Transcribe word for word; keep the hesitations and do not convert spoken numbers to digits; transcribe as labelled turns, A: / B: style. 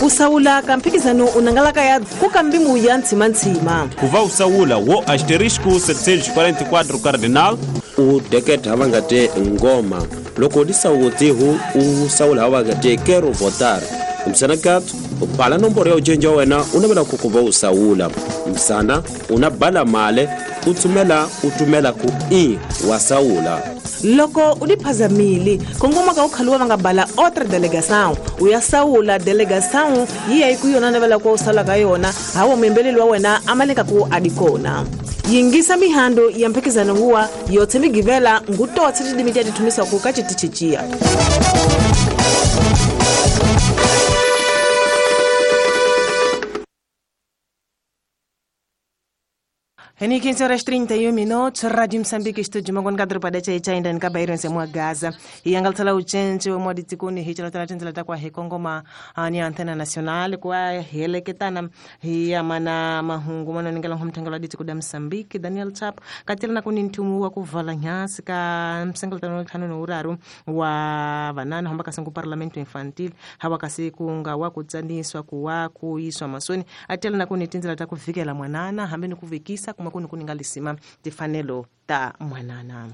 A: Ku sawula ka mphikizano unangalaka ya ku kambimu ya ntshimanthsima.
B: Ku va u sawula wo asterisco setecentos e quarenta e quatro cardinal.
C: U deketa va nga te ngoma loko di sawutihu u sawula va nga te quero votar msana kat u bala nomboro ya ujenja wa wena u navela ku ku va u sawula msana u na bala male u tsumela u tumela ku i wa sawula.
A: Loko u diphazamile kongoma ka u khaluwa va nga bala outra delegação u ya sawula delegação yi ya yi ku yona navela ku u sawula ka yona hawa muyembeleli wa wena a maleka ku a di kona. Yingisa mihando ya mphikizano huwa yotse migivela ngutotse tidimi tia tithumisaku ka citichiciya.
D: Ni quinze horas trinta e um minutos, Rádio Moçambique, estúdio Mangon Kadro Padecha e Chainda Nkabairo Nsemwa Gaza. E angaltala uchenche wa mwadi tikuni hichela tala tenzela takwa he kongoma ni antena nacional kwa hele ketana hi amana mahungu mana ningela humtangala di tikuda Moçambique Daniel Chap katela na kuni ntumu wa kuvala nyasi ka msengalatano tano no uraru wa vanana hamba kasangu parlamento infantil hawa kasi kunga wa kutsaniswa kuwa kuiswa masoni atela na kuni tenzela takuvikela mwanana hambe nikuvikisa kuma kuni kuningalisima tifanelo ta mwanana.